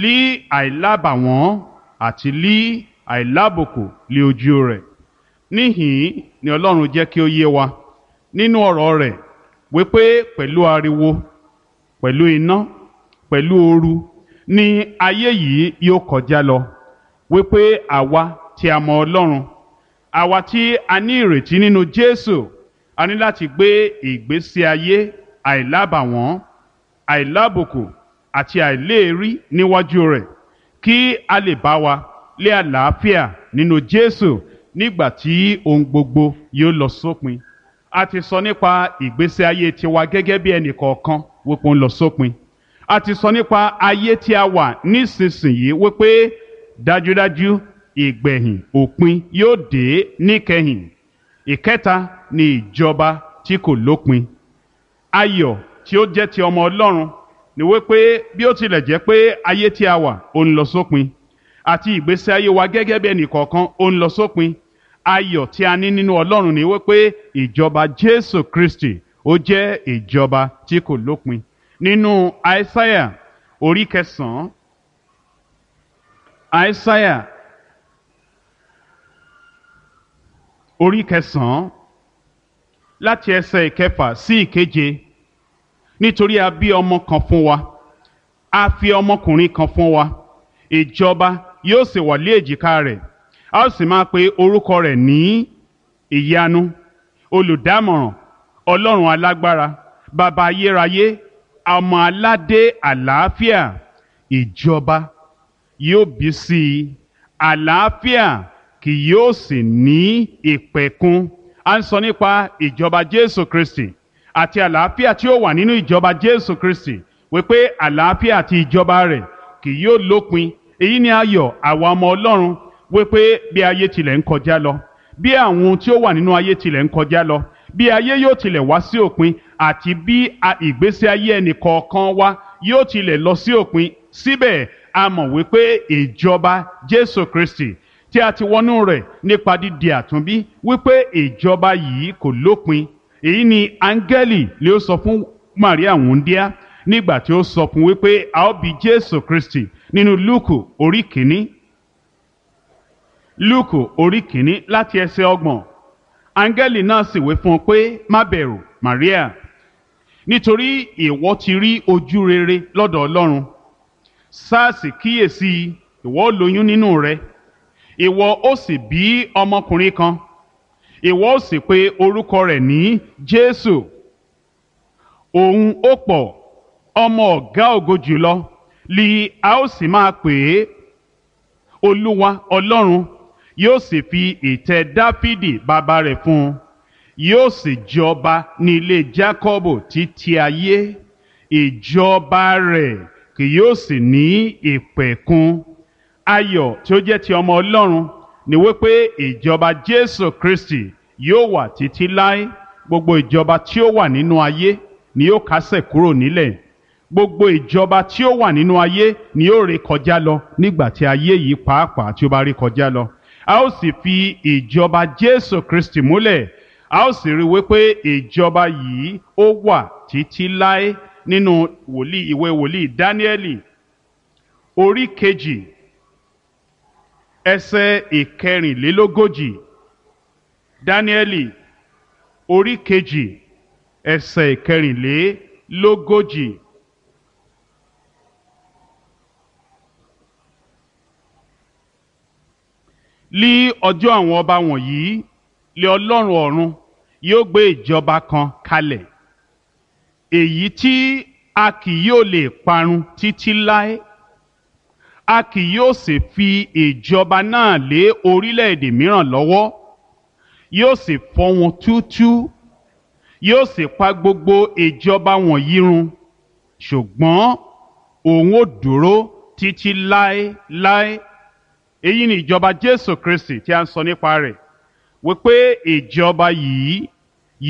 Lí àìlábàwọ́n àti lí àìlábùkù lí ojú rẹ̀. Níhìn-ín ni Ọlọ́run jẹ́ kí ó yé wa nínú ọ̀rọ̀ rẹ̀ wípé pẹ̀lú ariwo, pẹ̀lú iná, pẹ̀lú ooru ni ayé yìí yóò kọjá lọ, wípé àwa tí a mọ Ọlọ́run, àwa tí a ní ìrètí nínú Jésù, a ní láti gbé ìgbésí ayé àìlábàwọ́n, àìlábùkù àti àìléèrí níwájú rẹ̀, kí a lè bá wa lé àlàáfíà nínú Jésù nígbà tí ohun gbogbo yóò lọ sópin. A ti sọ nípa ìgbésí ayé tiwa gẹ́gẹ́ bí ẹnì kọ̀ọ̀kan wípé ó ń lọ sópin. A ti sọ nípa ayé tí a wà nísinsìnyí wípé dájúdájú ìgbẹ̀yìn òpin yóò dé níkẹyìn. Ìkẹta ni ìjọba tí kò lópin. Ayọ̀ tí ó jẹ́ ti ọmọ Ọlọ́run ni wípé bí ó tilẹ̀ jẹ́ pé ayé tí a wà ó ń lọ sópin, àti ìgbésí ayé wa gẹ́gẹ́ bí ẹnì kọ̀ọ̀kan ó ń lọ sópin, ayọ̀ tí a ní nínú Ọlọ́run ni wípé ìjọba Jésù Kristi ó jẹ́ ìjọba tí kò lópin. Nínú Aísáyà orí kẹsàn-án, Aísáyà orí kẹsàn-án láti ẹsẹ̀ ìkẹfà sí ìkeje. Nítorí a bí ọmọ kan fún wa, a fi ọmọkùnrin kan fún wa, ìjọba yóò sì wà lé èjìká rẹ̀, a ó sì máa pe orúkọ rẹ̀ ní Ìyanu, Olùdámọ̀ràn, Ọlọ́run alágbára, Bàbá ayérayé, ọmọ aládé àlàáfíà. Ìjọba yóò bí sí i, àlàáfíà kì yóò sì ní ìpẹ̀kun. A ń sọ nípa ìjọba Jésù Kristi àti àlàáfíà tí ó wà nínú ìjọba Jésù Kristi, wípé àlàáfíà àti ìjọba rẹ̀ kì yóò lópin. Èyí ni ayọ̀ àwa ọmọ Ọlọ́run, wípé bí ayé tilẹ̀ ń kọjá lọ, bí àwọn ohun tí ó wà nínú ayé tilẹ̀ ń kọjá lọ, bí ayé yóò tilẹ̀ wá sí òpin, àti bí ìgbésí ayé ẹnì kọ̀ọ̀kan wa yóò tilẹ̀ lọ sí òpin, síbẹ̀ a mọ̀ wípé ìjọba Jésù Kristi tí a ti wọnú rẹ̀ nípa dídi àtúnbí, wípé ìjọba yìí kò lópin. Èyí ni áńgẹ́lì lè ó sọ fún Màríà wúńdíá nígbà tí ó sọ fún wípé a ó bí Jésù Kristi nínú Lúùkù orí kìíní. Lúùkù orí kìíní láti ẹsẹ̀ 30. Áńgẹ́lì náà sì wí fún un pé, má bẹ̀rù, Màríà, nítorí ìwọ ti rí ojú rere lọ́dọ̀ Ọlọ́run. Sáàsì kíyèsí, ìwọ ó lóyún nínú rẹ, ìwọ ó sì bí ọmọkùnrin kan, ìwọ ó sì pe orúkọ rẹ̀ ní Jésù. Òun ó pọ̀, ọmọ ọ̀gá ògo jùlọ li a ó sì máa pè é. Olúwa Ọlọ́run yóò sì fi ìtẹ́ Dáfídì bàbá rẹ̀ fún un, yóò sì jọba ní ilé Jákọ́bù títí ayé, ìjọba rẹ̀ kì yóò sì ní ìpẹ̀kun. Ayọ̀ tí ó jẹ́ ti ọmọ Ọlọ́run ni wípé ìjọba Jésù Kristi yóò wà títí láé. Gbogbo ìjọba tí ó wà nínú ayé ni yóò kásẹ̀ kúrò nílẹ̀. Gbogbo ìjọba tí ó wà nínú ayé ni yóò ré kọjá lọ nígbà tí ayé yìí pàápàá tí ó bá ré kọjá lọ. A ó sì fi ìjọba Jésù Kristi múlẹ̀. A ó sì rí wípé ìjọba yìí ó wà títí láé. Nínú wòlíì ìwé wòlíì Dáníẹ́lì orí 2 ẹsẹ̀ 44. Dáníẹ́lì orí 2 ẹsẹ̀ 44. Lí ọjọ́ àwọn ọba wọ̀nyí lé Ọlọ́run ọ̀run yóò gbé ìjọba kan kalẹ̀, èyí tí a kì yóò lè parun títí láé. A kì yóò sì fi ìjọba náà lé orílẹ̀-èdè mìíràn lọ́wọ́. Yóò sì fọ́ wọn túútúú, yóò sì pa gbogbo ìjọba wọ̀nyí run, ṣùgbọ́n òun ó dúró títí láéláé. Èyí ni ìjọba Jésù Kristi tí a ń sọ nípa rẹ̀, wípé ìjọba yìí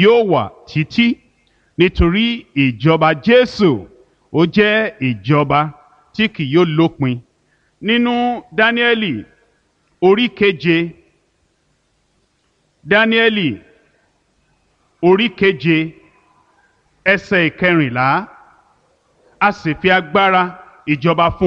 yóò wà títí, nítorí ìjọba Jésù ó jẹ́ ìjọba tí kì yóò lópin. Nínú Dáníẹ́lì orí 7, Dáníẹ́lì orí 7 ẹsẹ̀ 14, a sì fi agbára ìjọba fún un.